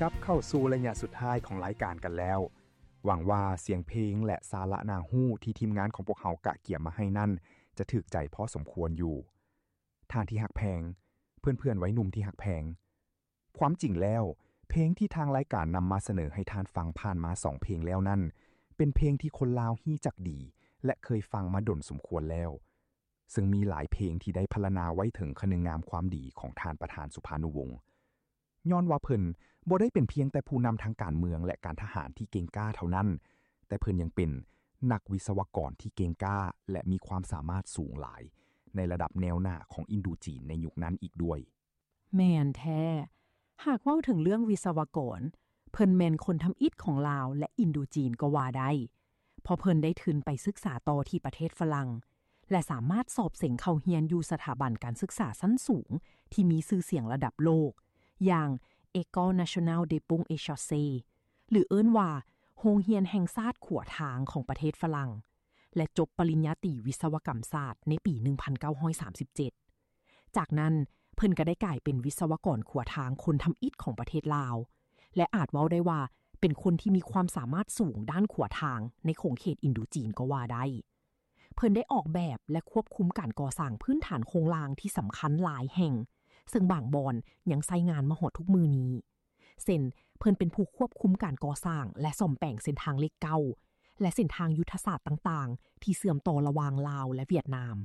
ກັບເຂົ້າສູ່ໄລຍະສຸດທ້າຍຂອງລາຍການກັນແລ້ວ. ຫວັງວ່າສຽງເພງ ແລະ ສາລະໜ້າຮູ້ທີ່ທີມງານຂອງພວກເຮົາກະກຽມມາໃຫ້ນັ້ນ ຈະຖືກໃຈພໍສົມຄວນຢູ່. ທ່ານທີ່ຮັກແພງ, ເພື່ອນໆໄວໜຸ່ມທີ່ຮັກແພງ, ຄວາມຈິງແລ້ວ, ເພງທີ່ທາງລາຍການນຳມາສະເໜີໃຫ້ທ່ານຟັງຜ່ານມາສອງເພງແລ້ວນັ້ນ ເປັນເພງທີ່ຄົນລາວຮູ້ຈັກດີ ແລະ ເຄີຍຟັງມາດົນສົມຄວນແລ້ວ. ເຊິ່ງມີຫຼາຍເພງທີ່ໄດ້ພັນລະນາໄວ້ເຖິງຄະນຶງງາມຄວາມດີຂອງທ່ານປະທານສຸພານຸວົງ. ຍ້ອນວ່າເພິ່ນບໍ່ໄດ້ເປັນພຽງແຕ່ຜູ້ນຳທາງການເມືອງ ແລະ ການທະຫານທີ່ເກັ່ງກ້າເທົ່ານັ້ນ, ແຕ່ເພິ່ນຍັງເປັນນັກວິສະວະກອນທີ່ເກັ່ງກ້າ ແລະ ມີຄວາມສາມາດສູງຫຼາຍ ໃນລະດັບແນວໜ້າຂອງອິນໂດຈີນໃນຍຸກນັ້ນອີກດ້ວຍ. ແມ່ນແທ້. ຫາກເວົ້າເຖິງເລື່ອງວິສະວະກອນ, ເພິ່ນແມ່ນຄົນທຳອິດຂອງລາວ ແລະ ອິນໂດຈີນກໍວ່າໄດ້, ເພາະເພິ່ນໄດ້ທຶນໄປສຶກສາຕໍ່ທີ່ປະເທດຝຣັ່ງ ແລະ ສາມາດສອບເສັງເຂົ້າຮຽນຢູ່ສະຖາບັນການສຶກສາຊັ້ນສູງທີ່ມີຊື່ສຽງລະດັບໂລກ ຢ່າງ École Nationale des Ponts et Chaussées ຫຼື ເອີ້ນວ່າ ໂຮງຮຽນແຫ່ງຊາດຂົວທາງຂອງປະເທດຝຣັ່ງ ແລະ ຈົບປະລິນຍາຕີວິສະວະກຳສາດໃນປີໜຶ່ງພັນເກົ້າຮ້ອຍສາມສິບເຈັດ. ຈາກນັ້ນ, ເພິ່ນກໍໄດ້ກາຍເປັນວິສະວະກອນຂົວທາງຄົນທຳອິດຂອງປະເທດລາວ ແລະ ອາດເວົ້າໄດ້ວ່າເປັນຄົນທີ່ມີຄວາມສາມາດສູງດ້ານຂົວທາງໃນຂົງເຂດອິນໂດຈີນກໍວ່າໄດ້. ເພິ່ນໄດ້ອອກແບບ ແລະ ຄວບຄຸມການກໍ່ສ້າງພື້ນຖານໂຄງລ່າງທີ່ສຳຄັນຫຼາຍແຫ່ງ, ເຊິ່ງບາງບ່ອນຍັງໃຊ້ງານມາຮອດທຸກມື້ນີ້. ເຊັ່ນ, ເພິ່ນເປັນຜູ້ຄວບຄຸມການກໍ່ສ້າງ ແລະ ສ້ອມແປງເສັ້ນທາງເລກເກົ້າ ແລະ ເສັ້ນທາງຍຸດທະສາດຕ່າງໆ ທີ່ເຊື່ອມຕໍ່ລະຫວ່າງລາວ ແລະ ຫວຽດນາມ.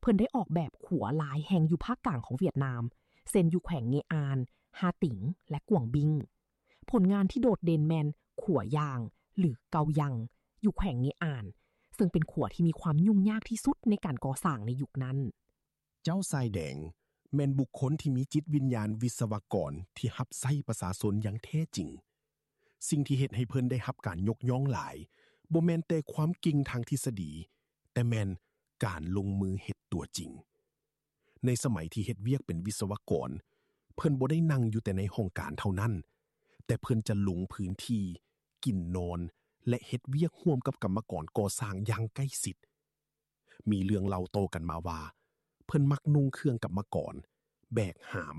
ເພິ່ນໄດ້ອອກແບບຂົວຫຼາຍແຫ່ງຢູ່ພາກກາງຂອງຫວຽດນາມ, ເຊັ່ນ ຢູ່ແຂວງເງອານ, ຮາຕິງ ແລະ ກວາງບິ້ງ. ຜົນງານທີ່ໂດດເດັ່ນແມ່ນຂົວຢາງ ຫຼື ເກົາຍັງ ຢູ່ແຂວງເງອານ, ເຊິ່ງເປັນຂົວທີ່ມີຄວາມຫຍຸ້ງຍາກທີ່ສຸດໃນການກໍ່ສ້າງໃນຍຸກນັ້ນ. ເຈົ້າຊາຍແດງແມ່ນບຸກຄົນທີ່ມີຈິດວິນຍານວິສະວະກອນທີ່ຮັບໃຊ້ປະຊາຊົນຢ່າງແທ້ຈິງ. ສິ່ງທີ່ເຮັດໃຫ້ເພິ່ນໄດ້ຮັບການຍົກຍ້ອງຫຼາຍ ບໍ່ແມ່ນແຕ່ຄວາມເກັ່ງທາງທິດສະດີ, ແຕ່ແມ່ນການລົງມືເຮັດຕົວຈິງ. ໃນສະໄໝທີ່ເຮັດວຽກເປັນວິສະວະກອນ, ເພິ່ນບໍ່ໄດ້ນັ່ງຢູ່ແຕ່ໃນຫ້ອງການເທົ່ານັ້ນ, ແຕ່ເພິ່ນຈະລົງພື້ນທີ່, ກິນນອນ ແລະ ເຮັດວຽກຮ່ວມກັບກຳມະກອນກໍ່ສ້າງຢ່າງໃກ້ຊິດ. ມີເລື່ອງເລົ່າຕໍ່ກັນມາວ່າ ເພິ່ນມັກນຸ່ງເຄື່ອງກຳມະກອນ, ແບກຫາມ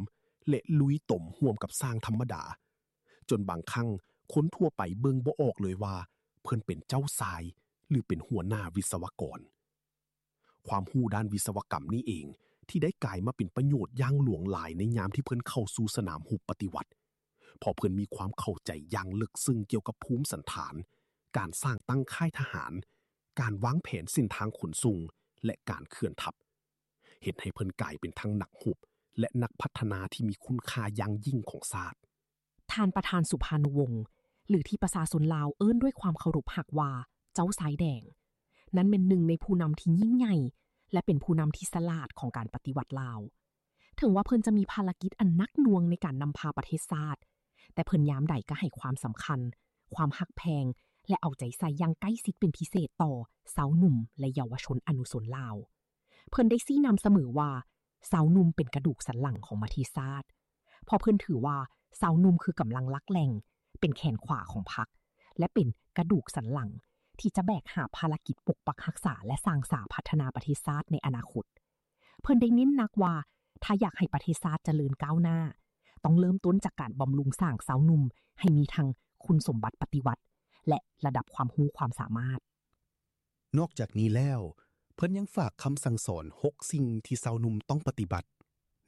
ແລະ ລຸຍຕົມຮ່ວມກັບຊ່າງທຳມະດາ, ຈົນບາງຄັ້ງຄົນທົ່ວໄປເບິ່ງບໍ່ອອກເລີຍວ່າເພິ່ນເປັນເຈົ້າຊາຍ ຫຼື ເປັນຫົວໜ້າວິສະວະກອນ. ຄວາມຮູ້ດ້ານວິສະວະກຳນີ້ເອງ ທີ່ໄດ້ກາຍມາເປັນປະໂຫຍດຢ່າງຫຼວງຫຼາຍໃນຍາມທີ່ເພິ່ນເຂົ້າສູ່ສະໜາມຮົບປະຕິວັດ, ເພາະເພິ່ນມີຄວາມເຂົ້າໃຈຢ່າງເລິກເຊິ່ງກ່ຽວກັບພູມສັນຖານ, ການສ້າງຕັ້ງຄ້າຍທະຫານ, ການວາງແຜນເສັ້ນທາງຂົນສົ່ງ ແລະ ການເຄື່ອນທັບ, ເຮັດໃຫ້ເພິ່ນກາຍເປັນທັງນັກຮົບ ແລະ ນັກພັດທະນາທີ່ມີຄຸນຄ່າຢ່າງຍິ່ງຂອງຊາດ. ທ່ານປະທານສຸພານຸວົງ ຫຼື ທີ່ປະຊາຊົນລາວເອີ້ນດ້ວຍຄວາມເຄົາລົບຮັກວ່າ ເຈົ້າຊາຍແດງ ນັ້ນແມ່ນໜຶ່ງໃນຜູ້ນຳທີ່ຍິ່ງໃຫຍ່ ແລະ ເປັນຜູ້ນຳທີ່ສະຫຼາດຂອງການປະຕິວັດລາວ. ເຖິງວ່າເພິ່ນຈະມີພາລະກິດອັນໜັກໜ່ວງໃນການນຳພາປະເທດຊາດ, ແຕ່ເພິ່ນຍາມໃດກໍໃຫ້ຄວາມສຳຄັນ, ຄວາມຮັກແພງ ແລະ ເອົາໃຈໃສ່ຢ່າງໃກ້ຊິດເປັນພິເສດຕໍ່ຊາວໜຸ່ມ ແລະ ເຍົາວະຊົນອະນຸຊົນລາວ. ເພິ່ນໄດ້ຊີ້ນຳສະເໝີວ່າ ຊາວໜຸ່ມເປັນກະດູກສັນຫຼັງຂອງປະເທດຊາດ, ເພາະເພິ່ນຖືວ່າຊາວໜຸ່ມຄືກຳລັງຫຼັກແຫຼ່ງ, ເປັນແຂນຂວາຂອງພັກ ແລະ ເປັນກະດູກສັນຫຼັງທີ່ຈະແບກຫາບພາລະກິດປົກປັກຮັກສາ ແລະ ສ້າງສາພັດທະນາປະເທດຊາດໃນອະນາຄົດ. ເພິ່ນໄດ້ເນັ້ນໜັກວ່າ ຖ້າຢາກໃຫ້ປະເທດຊາດຈະເລີນກ້າວໜ້າ, ຕ້ອງເລີ່ມຕົ້ນຈາກການບຳລຸງສ້າງຊາວໜຸ່ມໃຫ້ມີທັງຄຸນສົມບັດປະຕິວັດ ແລະ ລະດັບຄວາມຮູ້ຄວາມສາມາດ. ນອກຈາກນີ້ແລ້ວ, ເພິ່ນຍັງຝາກຄຳສັ່ງສອນຫົກສິ່ງທີ່ຊາວໜຸ່ມຕ້ອງປະຕິບັດ,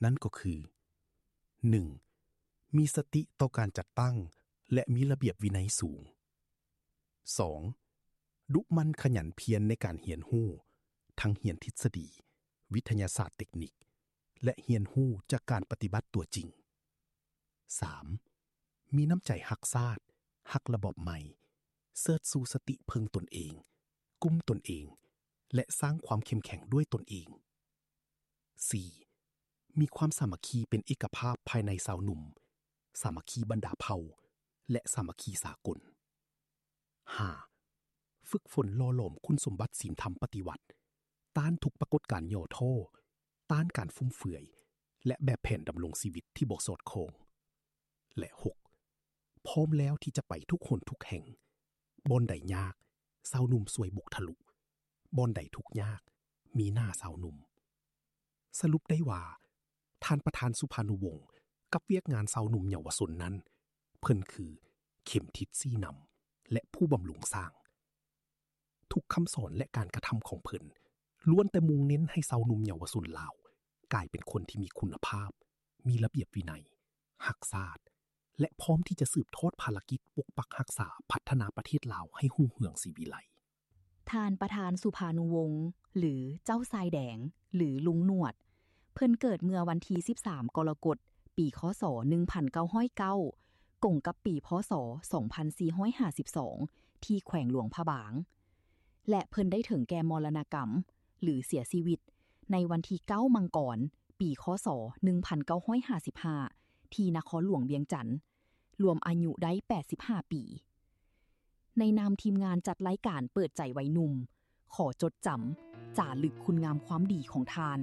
ນັ້ນກໍຄື ໜຶ່ງ ມີສະຕິຕໍ່ການຈັດຕັ້ງ ແລະ ມີລະບຽບວິໄນສູງ. ສອງ ດຸໝັ່ນຂະຫຍັນພຽນໃນການຮຽນຮູ້, ທັງຮຽນທິດສະດີ, ວິທະຍາສາດເຕັກນິກ ແລະ ຮຽນຮູ້ຈາກການປະຕິບັດຕົວຈິງ. ສາມ ມີນ້ຳໃຈຮັກຊາດ, ຮັກລະບອບໃໝ່, ເຊີດຊູສະຕິເພິ່ງຕົນເອງ, ກຸມຕົນເອງ ແລະ ສ້າງຄວາມເຂັ້ມແຂງດ້ວຍຕົນເອງ. ສີ່ ມີຄວາມສາມັກຄີເປັນເອກະພາບພາຍໃນຊາວໜຸ່ມ, ສາມັກຄີບັນດາເຜົ່າ ແລະ ສາມັກຄີສາກົນ. ຫ້າ ຝຶກຝົນຫຼໍ່ຫຼອມຄຸນສົມບັດສິນທຳປະຕິວັດ, ຕ້ານທຸກປາກົດການຫຍໍ້ທໍ້, ຕ້ານການຟຸມເຟືອຍ ແລະ ແບບແຜນດຳລົງຊີວິດທີ່ບໍ່ສອດຄ່ອງ. ແລະ ຫົກ ພ້ອມແລ້ວທີ່ຈະໄປທຸກຫົນທຸກແຫ່ງ, ບ່ອນໃດຍາກ, ຊາວໜຸ່ມຊ່ວຍບຸກທະລຸ, ບ່ອນໃດທຸກຍາກ, ມີໜ້າຊາວໜຸ່ມ. ສະຫຼຸບໄດ້ວ່າ, ທ່ານປະທານສຸພານຸວົງກັບວຽກງານຊາວໜຸ່ມເຍົາວະຊົນນັ້ນ ເພິ່ນຄືເຂັມທິດຊີ້ນຳ ແລະ ຜູ້ບຳລຸງສ້າງ. ທຸກຄຳສອນ ແລະ ການກະທຳຂອງເພິ່ນ ລ້ວນແຕ່ມຸ່ງເນັ້ນໃຫ້ຊາວໜຸ່ມເຍົາວະຊົນລາວ ກາຍເປັນຄົນທີ່ມີຄຸນນະພາບ, ມີລະບຽບວິໄນ, ຮັກຊາດ ແລະ ພ້ອມທີ່ຈະສືບທອດພາລະກິດປົກປັກຮັກສາ, ພັດທະນາປະເທດລາວໃຫ້ຮຸ່ງເຮືອງສີວິໄລ. ທ່ານປະທານສຸພານຸວົງ ຫຼື ເຈົ້າຊາຍແດງ ຫຼື ລຸງໜວດ ເພິ່ນເກີດເມື່ອວັນທີສິບສາມ ກໍລະກົດ ປີ ຄ.ສ. ໜຶ່ງພັນເກົ້າຮ້ອຍເກົ້າ ກົງກັບປີ ພ.ສ. ສອງພັນສີ່ຮ້ອຍຫ້າສິບສອງ ທີ່ແຂວງຫຼວງພະບາງ ແລະ ເພິ່ນໄດ້ເຖິງແກ່ມໍລະນະກຳ ຫຼື ເສຍຊີວິດ ໃນວັນທີເກົ້າ ມັງກອນ ປີ ຄ.ສ. ໜຶ່ງພັນເກົ້າຮ້ອຍຫ້າສິບຫ້າ ທີ່ນະຄອນຫຼວງວຽງຈັນ ລວມອາຍຸໄດ້ແປດສິບຫ້າປີ. ໃນນາມທີມງານຈັດລາຍການເປີດໃຈໄວໜຸ່ມ ຂໍຈົດຈຳ ຈາລຶກຄຸນງາມຄວາມດີຂອງທ່ານ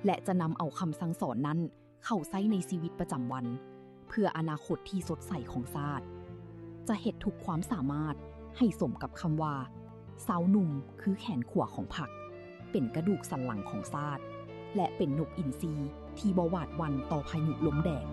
ແລະ ຈະນຳເອົາຄຳສັ່ງສອນນັ້ນເຂົ້າໃຊ້ໃນຊີວິດປະຈຳວັນ ເພື່ອອະນາຄົດທີ່ສົດໃສຂອງຊາດ. ຈະເຮັດທຸກຄວາມສາມາດໃຫ້ສົມກັບຄຳວ່າ ຊາວໜຸ່ມຄືແຂນຂວາຂອງພັກ, ເປັນກະດູກສັນຫຼັງຂອງຊາດ ແລະ ເປັນນົກອິນຊີທີ່ບໍ່ຫວາດຫວັ່ນຕໍ່ພາຍຸລົມແດດ.